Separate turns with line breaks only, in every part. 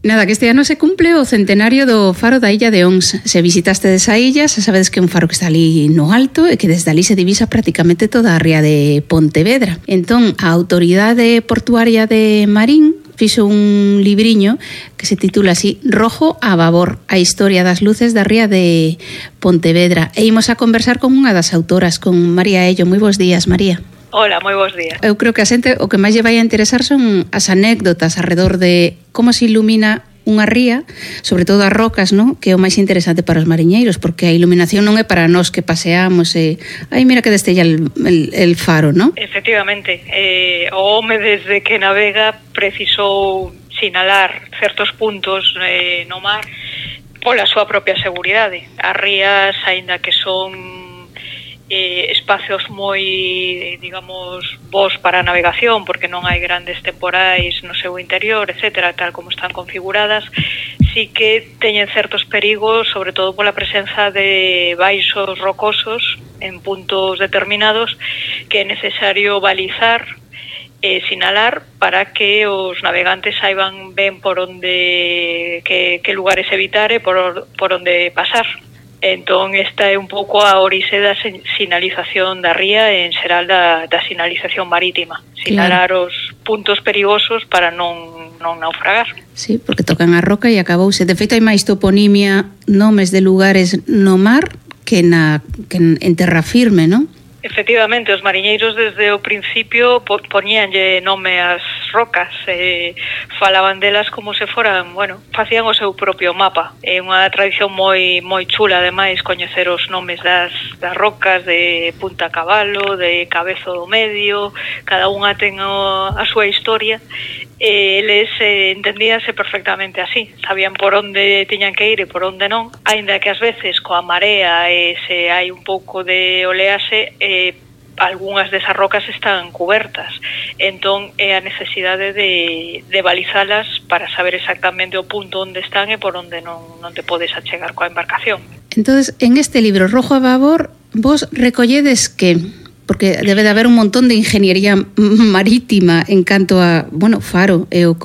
Nada, que este ano se cumple o centenario do faro da illa de Ons. Se visitaste desa illa, xa sabedes que é un faro que está ali no alto e que desde ali se divisa prácticamente toda a ría de Pontevedra. Entón, a autoridade portuaria de Marín fixo un libriño que se titula así Rojo a babor, a historia das luces da ría de Pontevedra. E imos a conversar con unha das autoras, con María Ello. Moi bons días, María.
Hola, moi bons días.
Eu creo que a xente o que máis lle vai a interesar son as anécdotas alrededor de como se ilumina unha ría, sobre todo as rocas, ¿no? Que é o máis interesante para os mariñeiros, porque a iluminación non é para nós que paseamos e ai, mira que destella el faro, ¿no?
Efectivamente, o home desde que navega precisou sinalar certos puntos no mar pola súa propia seguridade. As rías, aínda que son espacios moi, digamos, bons para a navegación, porque non hai grandes temporais no seu interior, etcétera, tal como están configuradas, sí que teñen certos perigos, sobre todo pola presenza de baixos rocosos en puntos determinados que é necesario balizar e sinalar para que os navegantes saiban ben por onde que lugares evitar e por onde pasar. Entón, esta é un pouco a orixe da sinalización da ría e en xeral da sinalización marítima. Sinalar os puntos perigosos para non naufragar.
Sí, porque tocan a roca e acabouse. De feito, hai máis toponimia, nomes de lugares no mar que en terra firme, non?
Efectivamente, os mariñeiros desde o principio poñíanlle nome ás rocas, falaban delas como se foran, bueno, facían o seu propio mapa. É unha tradición moi chula, ademais, coñecer os nomes das rocas de Punta Cabalo, de Cabezo do Medio, cada unha ten a súa historia. Eles entendíanse perfectamente así, sabían por onde tiñan que ir e por onde non, aínda que ás veces coa marea se hai un pouco de oleaxe, algunhas desas rocas están cubertas, entón é a necesidade de balizalas para saber exactamente o punto onde están e por onde non te podes achegar coa embarcación.
Entonces, en este libro Rojo a babor, vos recolledes que, porque debe de haber un montón de ingeniería marítima en canto a, bueno, faro é o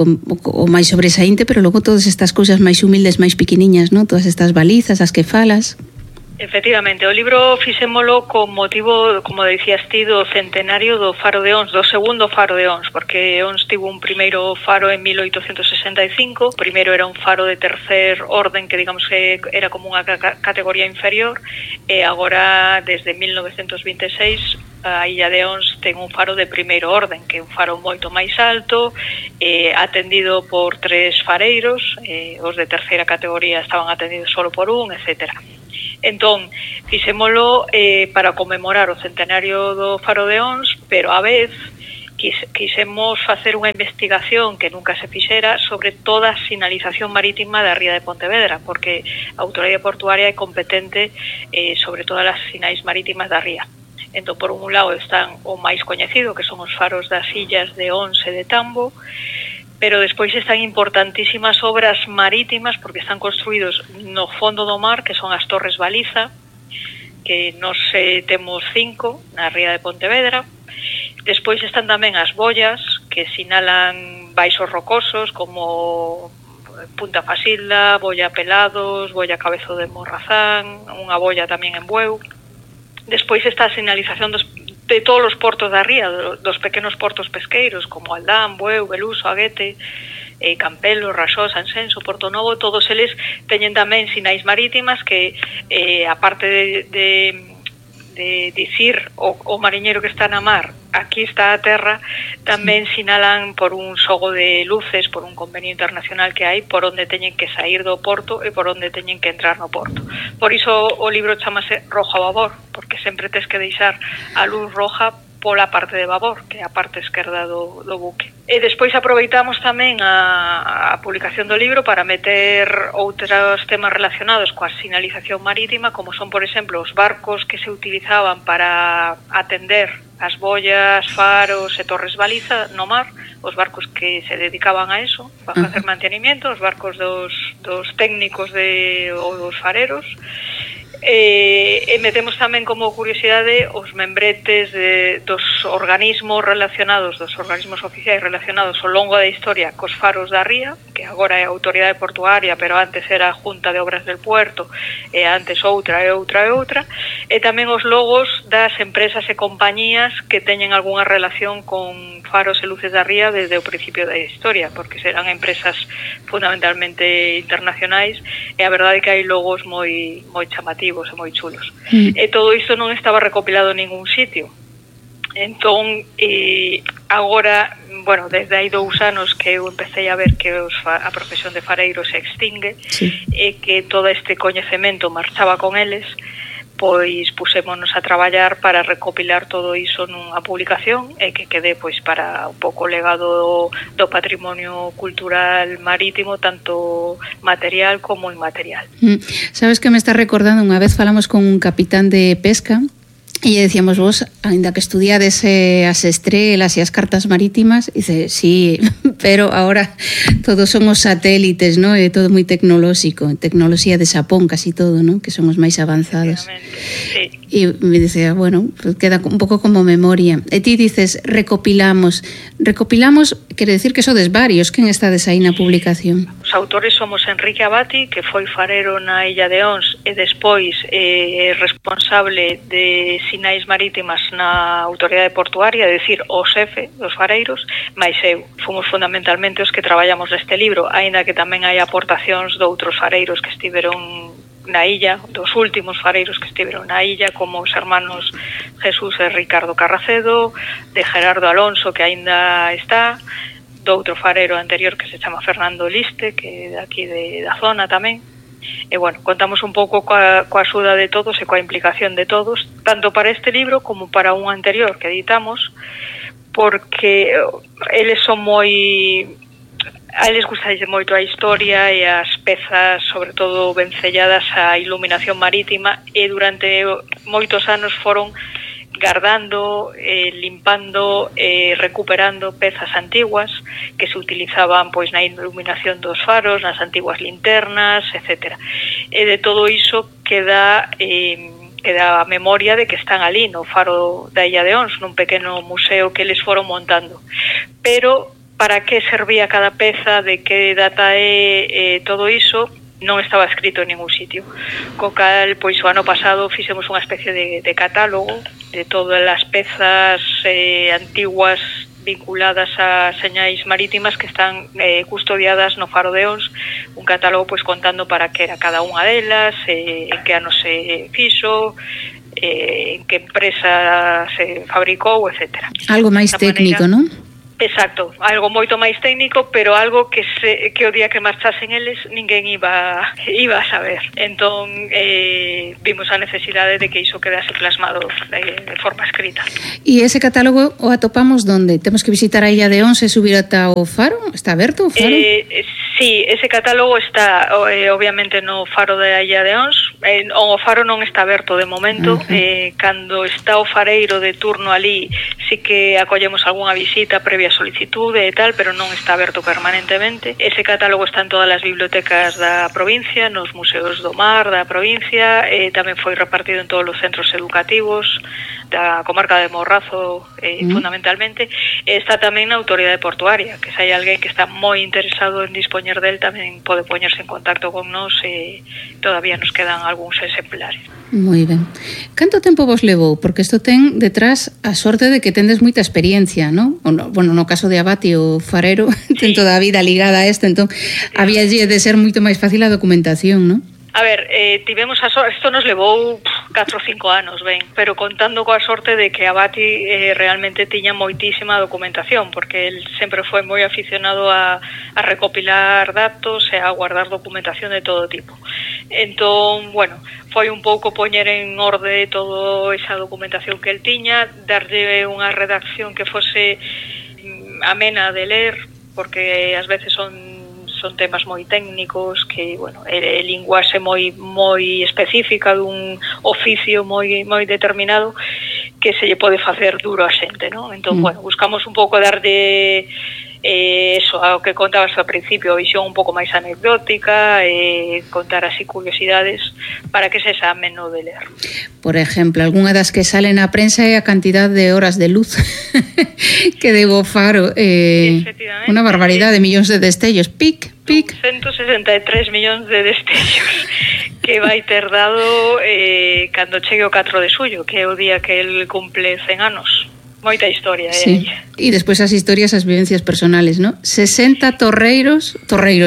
máis sobresaínte, pero logo todas estas cousas máis humildes, máis pequeniñas, ¿no? Todas estas balizas, as que falas.
Efectivamente, o libro fixémolo con motivo, como decías ti, do centenario do faro de Ons, do segundo faro de Ons, porque Ons tivo un primeiro faro en 1865, o primeiro era un faro de tercer orden, que digamos que era como unha categoría inferior, e agora, desde 1926, a illa de Ons ten un faro de primeiro orden, que é un faro moito máis alto, atendido por 3 fareiros, os de terceira categoría estaban atendidos solo por un, etcétera. Entón, fixémolo para conmemorar o centenario do faro de Ons, pero a vez quixemos facer unha investigación que nunca se fixera sobre toda a sinalización marítima da ría de Pontevedra, porque a autoridade portuaria é competente sobre todas as sinais marítimas da ría. Entón, por un lado están o máis coñecido, que son os faros das illas de Ons e de Tambo, pero despois están importantísimas obras marítimas porque están construídos no fondo do mar, que son as torres baliza, que nos temos 5 na ría de Pontevedra. Despois están tamén as boias, que sinalan baixos rocosos, como Punta Fasilda, Boia Pelados, Boia Cabezo de Morrazán, unha boia tamén en Bueu. Despois está a sinalización de todos os portos da ría, dos pequenos portos pesqueiros, como Aldán, Bueu, Beluso, Aguete, Campelo, Raxó, Sanxenxo, Porto Novo, todos eles teñen tamén sinais marítimas que, aparte de dicir o mariñeiro que está na mar, aquí está a terra, tamén sinalan por un xogo de luces, por un convenio internacional que hai, por onde teñen que sair do porto e por onde teñen que entrar no porto. Por iso o libro chamase Rojo a babor, porque sempre tes que deixar a luz roja pola parte de babor, que é a parte esquerda do buque. E despois aproveitamos tamén a publicación do libro para meter outros temas relacionados coa sinalización marítima, como son, por exemplo, os barcos que se utilizaban para atender as boias, faros e torres baliza no mar, os barcos que se dedicaban a eso, a facer mantenimiento, os barcos dos técnicos ou dos fareros, E metemos tamén como curiosidade os membretes dos organismos relacionados, dos organismos oficiais relacionados ao longo da historia cos faros da ría, que agora é a Autoridade Portuaria, pero antes era a Junta de Obras del Puerto, e antes outra, e tamén os logos das empresas e compañías que teñen algunha relación con faros e luces da ría desde o principio da historia, porque serán empresas fundamentalmente internacionais, e a verdade é que hai logos moi chamativos e moi chulos. E todo isto non estaba recopilado en ningún sitio. Entón, agora, bueno, desde hai 2 anos que eu empecé a ver que a profesión de fareiro se extingue, e que todo este coñecemento marchaba con eles, pois pusémonos a traballar para recopilar todo iso nunha publicación e que quede pois para un pouco o legado do patrimonio cultural marítimo, tanto material como inmaterial.
Sabes que me está recordando, unha vez falamos con un capitán de pesca e decíamos, vos, ainda que estudiades as estrelas e as cartas marítimas, dice, sí, pero ahora todos son os satélites, ¿no? É todo moi tecnolóxico, tecnoloxía de Xapón, casi todo, ¿no? Que son os máis avanzados. Sí. E me dicía, bueno, pues queda un pouco como memoria. E ti dices, recopilamos, quere decir que sodes varios, quen estades aí na publicación?
Os autores somos Enrique Abati, que foi farero na Illa de Ons e despois responsable de sinais marítimas na Autoridade Portuaria, é dicir, o xefe dos fareiros, máis eu. Fomos fundamentalmente os que traballamos neste libro, aínda que tamén hai aportacións de outros fareiros que estiveron na illa, dos últimos fareiros que estiveron na illa, como os hermanos Jesús e Ricardo Carracedo, de Gerardo Alonso, que aínda está, do outro farero anterior que se chama Fernando Liste, que é daqui da zona tamén. E, bueno, contamos un pouco coa axuda de todos e coa implicación de todos, tanto para este libro como para un anterior que editamos, porque eles son a eles gustalle moito a historia e as pezas, sobre todo vencelladas á iluminación marítima, e durante moitos anos foron guardando, limpando e recuperando pezas antiguas que se utilizaban pois na iluminación dos faros, nas antiguas linternas, etc. E de todo iso queda a memoria de que están ali no faro da Illa de Ons, nun pequeno museo que eles foron montando. Pero para que servía cada peza, de que data é todo iso, non estaba escrito en ningún sitio. Co cal, pois o ano pasado fixemos unha especie de catálogo de todas as pezas antiguas vinculadas a señais marítimas que están custodiadas no faro de Ons, un catálogo pois contando para que era cada unha delas, en que ano se fixo, en que empresa se fabricou, etc.
Algo máis técnico, non?
Exacto, algo moito máis técnico, pero algo que o día que marchasen eles ninguén iba a saber. Entón, vimos a necesidade de que iso quedase plasmado de forma escrita.
E ese catálogo o atopamos onde? Temos que visitar a Illa de Ons e subir ata o faro? Está aberto o faro?
Sí, ese catálogo está obviamente no faro da Illa de Ons. O faro non está aberto de momento. Cando está o fareiro de turno ali, sí que acollemos algunha visita previa solicitude e tal, pero non está aberto permanentemente. Ese catálogo está en todas as bibliotecas da provincia, nos museos do mar da provincia, tamén foi repartido en todos os centros educativos da comarca de Morrazo, fundamentalmente. Está tamén na Autoridade Portuaria, que se hai alguén que está moi interesado en dispoñer del, tamén pode poñerse en contacto con nós, e todavía nos quedan algúns exemplares.
Moi ben. Canto tempo vos levou? Porque isto ten detrás a sorte de que tendes moita experiencia, non? Bueno, no caso de Abati, o farero, ten toda a vida ligada a isto, entón había de ser moito máis fácil a documentación, non?
A ver, tivemos a sorte, isto nos levou 4 ou 5 anos, ben, pero contando coa sorte de que Abati realmente tiña moitísima documentación, porque el sempre foi moi aficionado a recopilar datos e a guardar documentación de todo tipo. Entón, bueno, foi un pouco poñer en orde toda esa documentación que el tiña, darlle unha redacción que fose amena de ler, porque ás veces son temas moi técnicos, que, bueno, é linguaxe moi específica dun oficio moi determinado que se lle pode facer duro a xente, non? Entón, bueno, buscamos un pouco darlle Eso, ao que contabas ao principio, a visión un pouco máis anecdótica, contar así curiosidades para que se xa ameno de ler.
Por exemplo, algunha das que sale na prensa é a cantidad de horas de luz que debo Faro, unha barbaridade, millóns de destellos, pic.
163 millóns de destellos que vai ter dado cando chegue o 4 de xullo, que é o día que el cumple 100 anos. Moita historia,
sí. E despois as historias, as vivencias personales, ¿no? 60 torreros,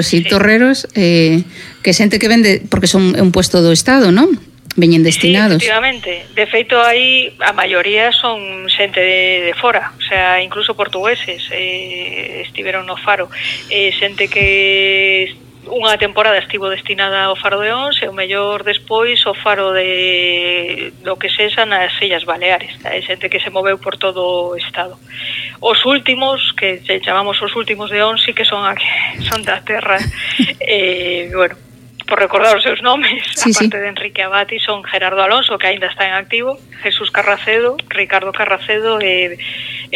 sí. Torreros, que xente que vende, porque son un puesto do Estado, ¿no? Veñen destinados.
Sí, efectivamente. De feito, aí a maioría son xente de fora, o sea, incluso portugueses estiveron no Faro. Xente que unha temporada estivo destinada ao Faro de Ons e o mellor despois o Faro do que sexa nas Illas Baleares. Hai xente que se moveu por todo o estado. Os últimos, que chamamos os últimos de Ons, sí que son da terra. Bueno, por recordar os seus nomes, sí, aparte de Enrique Abati, son Gerardo Alonso, que aínda está en activo, Jesús Carracedo, Ricardo Carracedo e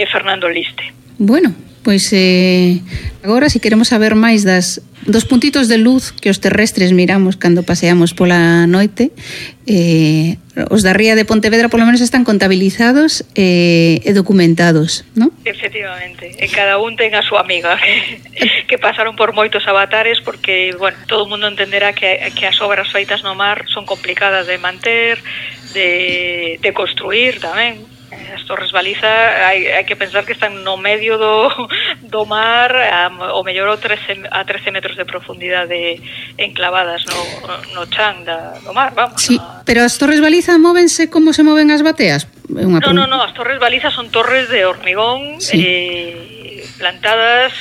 Fernando Liste.
Bueno, pois agora, se queremos saber máis dos puntitos de luz que os terrestres miramos cando paseamos pola noite, os da ría de Pontevedra polo menos están contabilizados e documentados, non?
Efectivamente, e cada un ten a súa amiga que pasaron por moitos avatares, porque, bueno, todo o mundo entenderá que as obras feitas no mar son complicadas de manter, de construir tamén. As torres baliza hai que pensar que están no medio do mar, o mellor a 13 metros de profundidade enclavadas no chan do mar, vamos.
Sí, pero as torres baliza móvense como se moven as bateas?
No, as torres baliza son torres de hormigón, sí, plantadas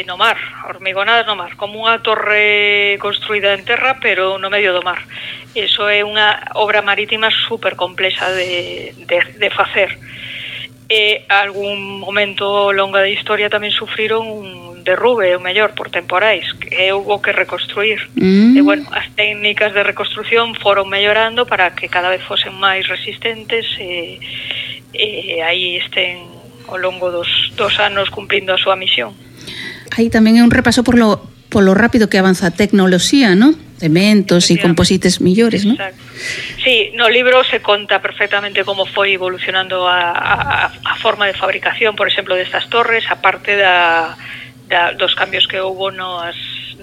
no mar, hormigonadas no mar, como unha torre construída en terra, pero no medio do mar. Eso é unha obra marítima super complexa de facer. E algún momento longa da historia tamén sufriron un derrube, o mellor, por temporais, que houve que reconstruir. E, bueno, as técnicas de reconstrucción foron mellorando para que cada vez fosen máis resistentes e aí estén ao longo dos anos cumprindo a súa misión.
Aí tamén é un repaso polo rápido que avanza a tecnoloxía, ¿no? Cementos e composites millores, ¿no?
Exacto. Sí, no libro se conta perfectamente como foi evolucionando a forma de fabricación, por exemplo, destas torres, aparte dos cambios que houve nas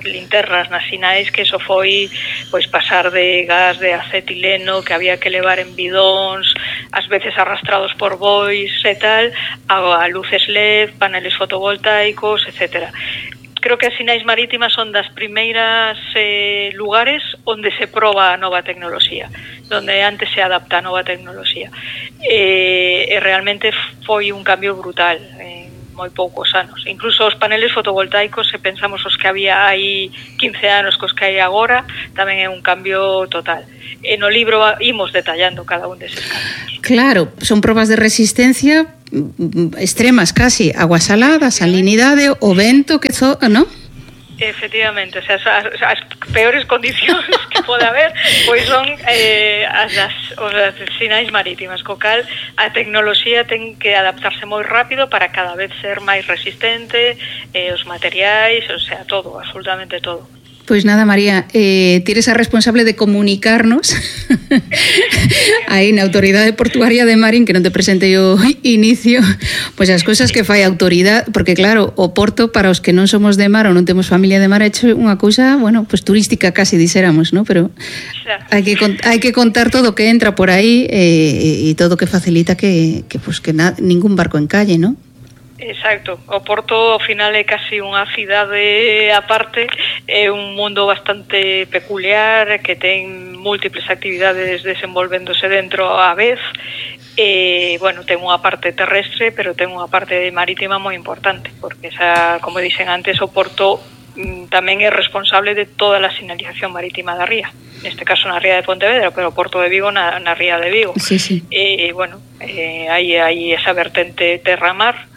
linternas, nas sinais, que eso foi pois pasar de gas de acetileno que había que levar en bidóns, ás veces arrastrados por bois e tal, a luces LED, paneles fotovoltaicos, etcétera. Creo que as sinais marítimas son das primeiras lugares onde se proba a nova tecnoloxía, onde antes se adapta a nova tecnoloxía. E realmente foi un cambio brutal en moi poucos anos. Incluso os paneles fotovoltaicos, se pensamos os que había aí 15 anos cos que hai agora, tamén é un cambio total. E no libro imos detallando cada un deses cambios.
Claro, son probas de resistencia extremas casi, agua salada, salinidade, o vento que ¿no?
Efectivamente, o sea, as peores condicións que pode haber pois son as sinais marítimas, co cal a tecnoloxía ten que adaptarse moi rápido para cada vez ser máis resistente, os materiais, o sea, todo, absolutamente todo.
Pois nada, María, ti eres a responsable de comunicarnos aí na Autoridade Portuaria de Marín, que non te presentei o inicio, pois as cousas que fai a autoridade, porque claro, o Porto, para os que non somos de mar ou non temos familia de mar, é unha cousa, bueno, pois turística casi dixéramos, ¿no? Pero hai que contar todo o que entra por aí e todo o que facilita que ningún barco encalle, ¿no?
Exacto, o Porto ao final é casi unha cidade aparte, é un mundo bastante peculiar que ten múltiples actividades desenvolvéndose dentro á vez e, bueno, ten unha parte terrestre pero ten unha parte marítima moi importante, porque esa, como dixen antes, o Porto tamén é responsable de toda a sinalización marítima da ría, neste caso na ría de Pontevedra, pero o Porto de Vigo na ría de Vigo.
Sí, sí.
E, bueno, hai esa vertente terra-mar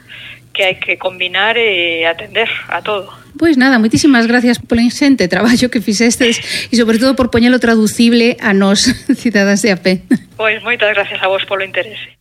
que hai que combinar e atender a todo.
Pois nada, moitísimas gracias polo inxente traballo que fixestes e sobre todo por poñelo traducible a nós, cidadás de a pé.
Pois moitas gracias a vos polo interese.